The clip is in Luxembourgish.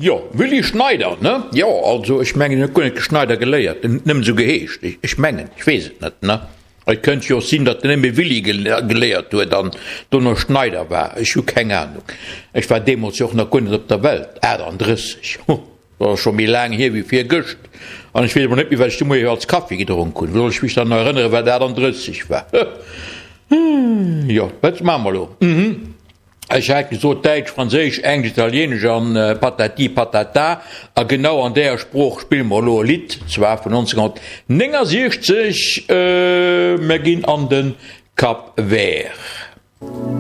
Jo, Willy Schneider, ne? Jo, also ech mengen, en huet guer net Schneider geléiert, en huet nëmmen esou geheescht. Ech mengen, ech weess et net, ne? Et kënnt jo och sinn, datt en nëmme Willy geléiert huet an dono Schneider war. Ech hu keng Anung. Ech war deemools jo och nach guer net op der Welt. 38, huh, dat ass scho méi laang hier wéi virgëscht. An ech weess emol net méi, wat ech de Moie als Kaffi gedronk hunn. Wou soll ech mech dann nach erënneren, wat 38 war? Huh, jo, wat maache mer elo? Mhm. Ech hat gesot Däitsch, Franséisch, Englesch, Italienesch an patati patata. A genau an däer Sprooch spille mer elo e Lidd, zwar vun 1969. Mer ginn an de Cap Vert.